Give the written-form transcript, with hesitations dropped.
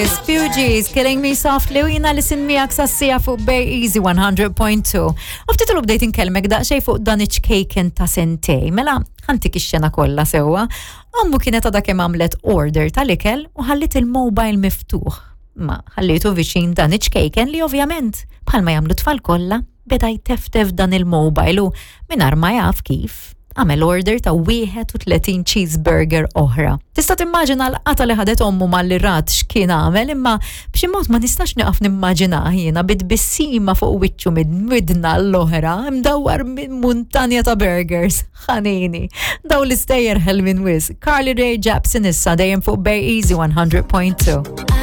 Fugees, Killing Me Softly u jina li sin miegħek sassija fuq Bay Easy 100.2. U ftit ilu bdejt inkellmek daqsxejn fuq dan iċ-ċkejken ta' sentej. Mela, ħantik ix-xena kollha sewwa. Ommu kienet għadha kemm għamlet order tal-ikel u ħallit il-mobile miftuħ. Ma ħallitu viċin dan iċ-ċkejken li ovvjament bħalma jagħmlu tfal kollha beda jteftef dan il-mobile u mingħajr ma jaf kif għamel order ta' 31 cheeseburger oħra. Tista' timmaġina l-qata li ħadet ommu malli rat x'kien għamel imma b'xi mod ma nistax nieqaf nimmaġina jiena bit-tbissima fuq wiċċu minn widna l-oħra mdawwar minn muntanja ta' burgers. Ħanini. Daw l-istejjer ħelmin wis. Carly Rae Jepsen issa dejjem fuq Bay Easy 100.2.